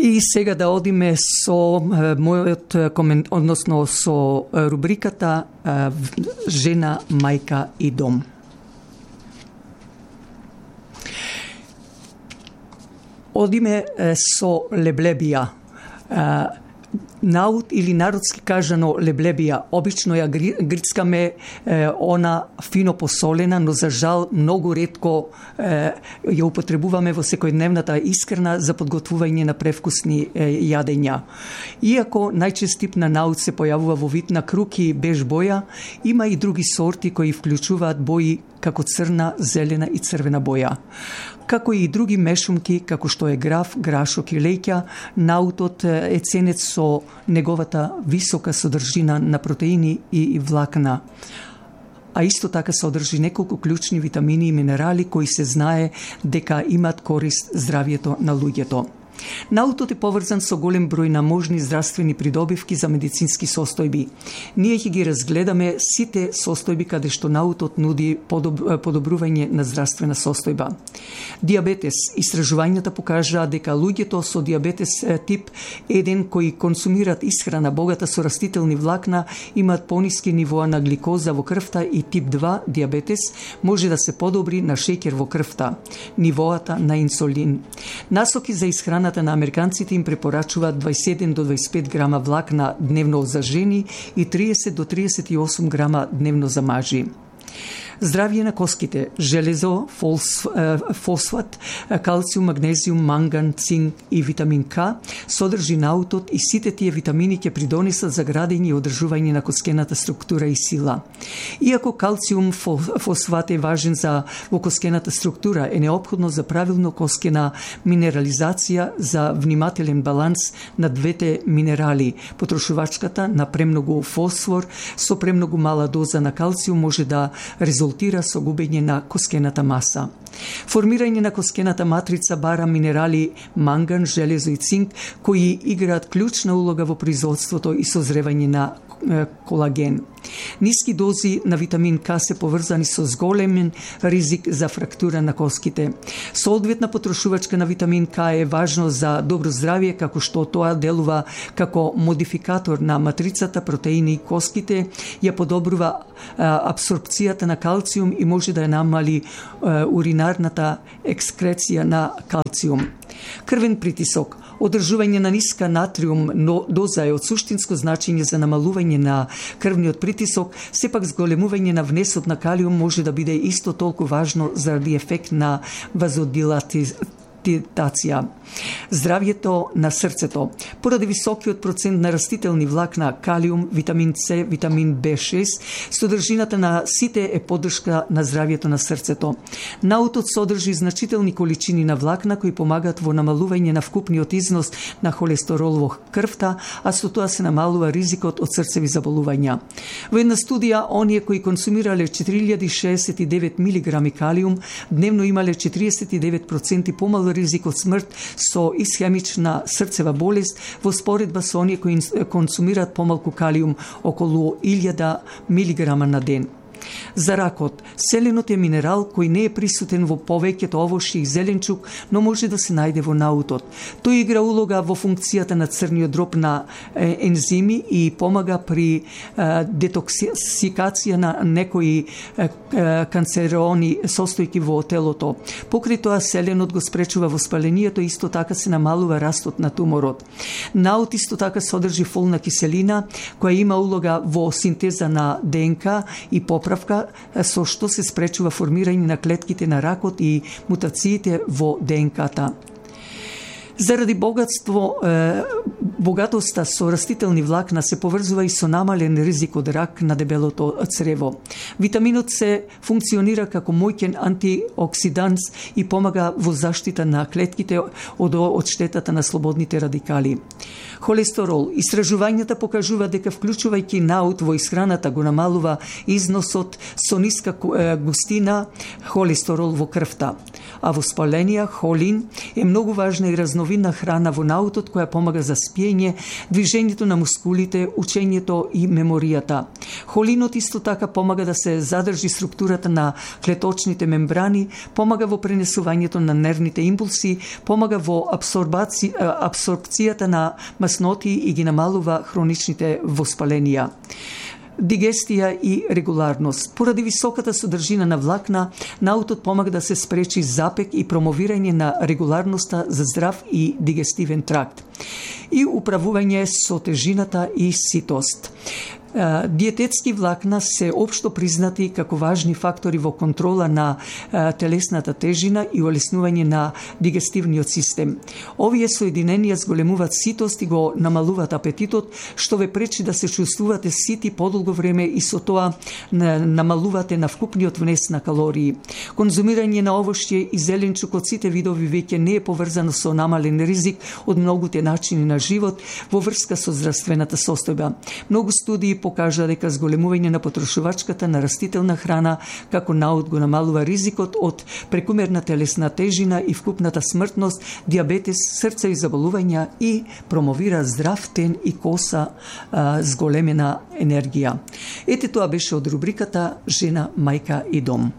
И сега да одиме со мојот односно со рубриката Жена, мајка и дом. Одиме со леблебија. Наут или народски кажано леблебија, обично ја грицкаме она фино посолена, но за жал многу ретко ја употребуваме во секојдневната исхрана за подготвување на превкусни јадења. Иако најчест тип на наут се појавува во вид на круки и беж боја, има и други сорти кои вклучуваат бои како црна, зелена и црвена боја. Како и други мешумки, како што е граф, грашок и леќа, наутот е ценет со неговата висока содржина на протеини и влакна. А исто така содржи неколку клучни витамини и минерали кои се знае дека имат корист здравјето на луѓето. Наутот е поврзан со голем број на можни здравствени придобивки за медицински состојби. Ние ќе ги разгледаме сите состојби каде што наутот нуди подобрување на здравствена состојба. Диабетес. Истражувањата покажаа дека луѓето со диабетес тип 1 кои консумираат исхрана богата со растителни влакна имаат пониски нивоа на гликоза во крвта и тип 2 диабетес може да се подобри на шеќер во крвта, нивоата на инсулин. Насоки за исхрана на американците им препорачуваат 27 до 25 грама влакна дневно за жени и 30 до 38 грама дневно за мажи. Здравје на коските, железо, фосфат, калциум, магнезиум, манган, цинк и витамин К содржи наутот и сите тие витамини ќе придонесат за градење и одржување на коскената структура и сила. Иако калциум фосфат е важен за во коскената структура, е неопходно за правилно коскена минерализација за внимателен баланс на двете минерали. Потрошувачката на премногу фосфор со премногу мала доза на калциум може да резултира со губење на коскената маса. Формирање на коскената матрица бара минерали манган, железо и цинк кои играат клучна улога во производството и созревање на колаген. Ниски дози на витамин К се поврзани со зголемен ризик за фрактура на коските. Соодветна потрошувачка на витамин К е важно за добро здравје, како што тоа делува како модификатор на матрицата протеини и коските, ја подобрува абсорбцијата на калциум и може да ја намали уринарната екскреција на калциум. Крвен притисок. Одржување на ниска натриум доза е од суштинско значење за намалување на крвниот притисок, сепак зголемување на внесот на калиум може да биде исто толку важно заради ефект на вазодилатација. Здравјето на срцето. Поради високиот процент на растителни влакна, калиум, витамин С, витамин B6, содржината на сите е поддршка на здравјето на срцето. Наутот содржи значителни количини на влакна кои помагаат во намалување на вкупниот износ на холестерол во крвта, а со тоа се намалува ризикот од срцеви заболувања. Во една студија, оние кои консумирале 4069 мг калиум, дневно имале 49% помало ризик од смрт со исхемична срцева болест во споредба со оние кои консумираат помалку калиум, околу 1000 мг на ден. За ракот, селенот е минерал кој не е присутен во повеќето овошји и зеленчук, но може да се најде во наутот. Тој игра улога во функцијата на црниот дроб на ензими и помага при детоксикација на некои канцерони состојки во телото. Покрај тоа, селенот го спречува воспалението и исто така се намалува растот на туморот. Наут исто така содржи фолна киселина, која има улога во синтеза на ДНК и поправка, со што се спречува формирање на клетките на ракот и мутациите во ДНК-та. Заради богатоста со растителни влакна се поврзува и со намален ризик од рак на дебелото црево. Витаминот С функционира како моќен антиоксиданс и помага во заштита на клетките од штетата на слободните радикали. Холестерол. Истражувањата покажува дека вклучувајќи наут во исхраната го намалува износот со ниска густина холестерол во крвта. А воспаленија, холин е многу важна и разновидна храна во наутот која помага за спиење, движењето на мускулите, учењето и меморијата. Холинот исто така помага да се задржи структурата на клеточните мембрани, помага во пренесувањето на нервните импулси, помага во абсорбцијата на масноти и ги намалува хроничните воспаленија. Дигестија и регуларност. Поради високата содржина на влакна, наутот помага да се спречи запек и промовирање на регуларноста за здрав и дигестивен тракт. И управување со тежината и ситост. Диететски влакна се општо признати како важни фактори во контрола на телесната тежина и олеснување на дигестивниот систем. Овие соединенија зголемуваат ситост и го намалуваат апетитот, што ве пречи да се чувствувате сити подолго време и со тоа намалувате на вкупниот внес на калории. Конзумирање на овошје и зеленчук од сите видови веќе не е поврзано со намален ризик од многуте начини на живот во врска со здравствената состојба. Многу студии покажа дека зголемување на потрошувачката на растителна храна како наут го намалува ризикот од прекумерна телесна тежина и вкупната смртност, диабетес, срцеви заболувања и промовира здрав тен и коса зголемена енергија. Ете тоа беше од рубриката Жена, мајка и дом.